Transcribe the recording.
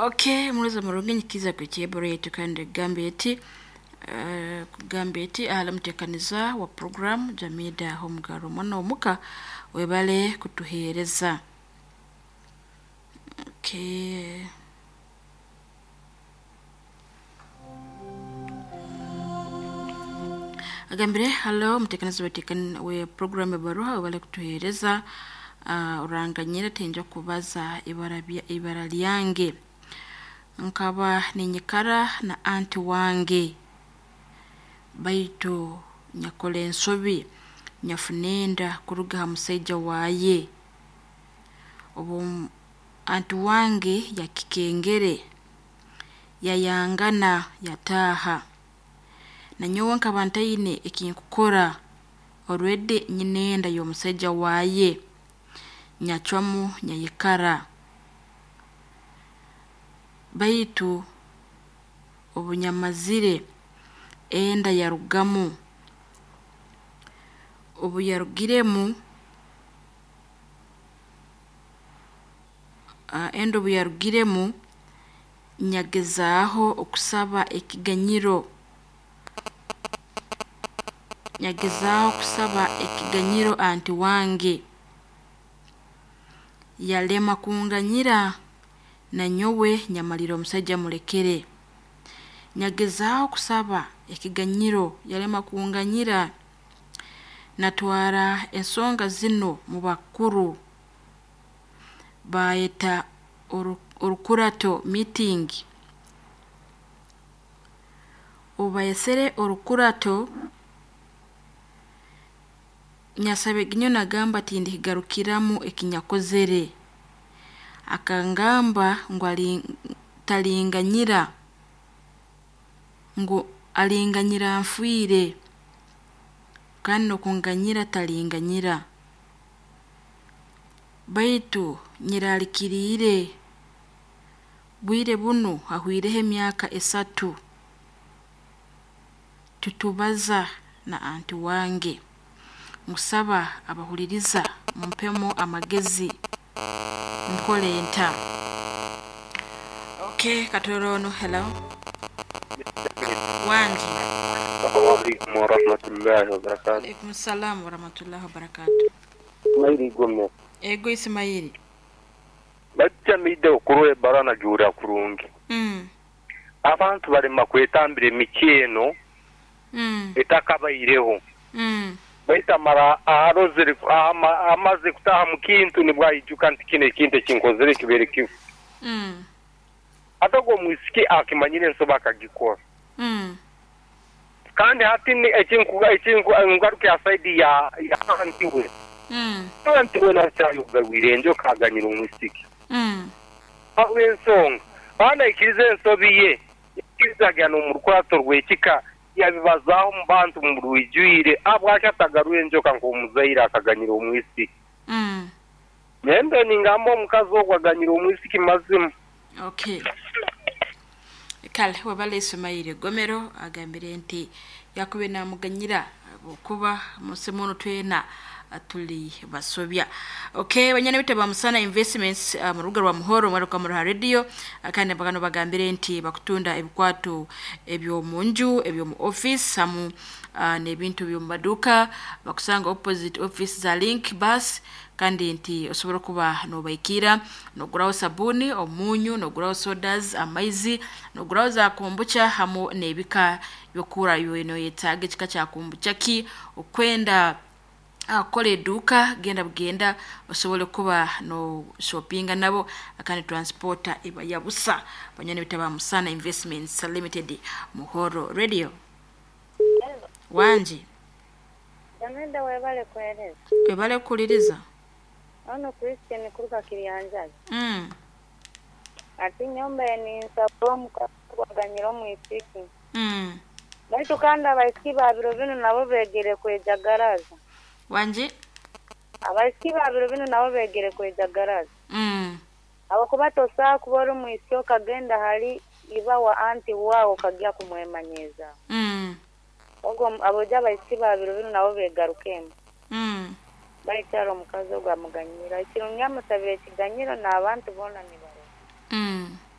Okay, muliza murungi nyikiza ku yetu kandi gambye eti kugambye eti ahala mutekaniza wa program Jamida Homugaro mwana omuka webale kutuheereza. Okay. Agambire halo mutekaniza we program ebaruha webale kutuheereza. Oranganyira tenja kubaza ibara lyange nkaba ninyikara na anti wange baitu nyakola ensobi nyafunenda kuruga ha musaija waye. Obu anti wange yakikengere yayangana yataaha, nanyowe nkaba ntaine ekinkukora already nyine enda y'omusaija waye, nyacwamu nyayikara. Baitu obunyamazire enda yarugamu, obuyarugiremu enda obuyarugiremu nyagezaaho okusaba ekiganyiro, nyagezaaho kusaba ekiganyiro anti wange, yalema kunganyira nanyowe nyamalira omusaija mulekere. Nyagezaaho kusaba ekiganyiro yalema kunganyira, natwara ensonga zinu mu bakuru bayeta orukurato meeting. Obu bayesere orukurato, nyasaba eginyo nagamba tindikigarukiramu ekinyakozere. Akangamba ngu talinganyira, ngu alinganyira nfiire, kandi n'okunganyira talinganyira. Baitu nyeralikiriire, bwire bunu hahwireho emyaka 3 tutubaza na anti wange. Nkusaba abahuliriza mumpemu amagezi nkole nta. Okay, katorono hello. Wanji. Assalamu warahmatullahi wabarakatuh. Alaikum salam warahmatullahi wabarakatuh. Mairi gome. Ego Ismaili. Bajja okurwe barana jura kurungi. Abantu balema kwetambira emikyeno. Etakabaireho. Baita mara arozere amaze kutaha mu kintu nibwayijuka nti kino ekintu ekinkozere kibere kifu. Ate ogwo mwisiki akimanyire ensobi akagikora. Kandi hati ekingaruka saidi ya anti we. Anti we nakyayogawire enjoka aganyira omwisiki. Habw'ensonga banaikiriza ensobi ye yakirizagana omu rukurato rw'ekika yabibazaaho mu bantu mu rwijwire abwaki atagaruye enjoka nk'omuzaire akaganyira omwisiki. Nembe ningamba omukazi ogwo aganyira omwisiki mazima. Okay. Kale wabale Ismaili Gomero agambire nti yakube namuganyira okuba musemono twena tuli basobya. Okay, banyana bitaba Musana Investments mu rubuga rwa Muhoro mwaruka mu radio kandi bagano bagambire nti bakutunda ebikwato ebyo munju ebyo mu office hamu n'ebintu byo mu maduka bakusanga opposite office za Link Bus kandi nti osobola kuba nobaikira noguraho sabuni omunyu noguraho sodas amaizi noguraho za kombucha hamu n'ebika byokura yono yetaga ekika kya kombucha ki okwenda akola eduka genda bugenda osobole kuba no shoppinga nabo akandi transporter iba yabusa banyane bitaba Musana Investments Limited Muhoro Radio. Wanji Jamenda webale kueleza. Webale kuliriza. Ono Christian kuruka Kirianjaji. Ati nyomba ni nsaba mukaganyira omwisiki. Baitu kandi abaisiki babiro binu nabo begere kwejagaraza. Wanji? Abaisiki babiro binu nabo begere kwejagaraza. Abakuba tosaa kuba omwisiki okagenda hali iba wa anti wao kagya kumwemanyeza. Ogwo aboja abaisiki babiro binu nabo begarukemu. Baikyaro omukazi ogwo amuganyira. Ekirungi amusabire ekiganyiro n'abantu boona nibarora.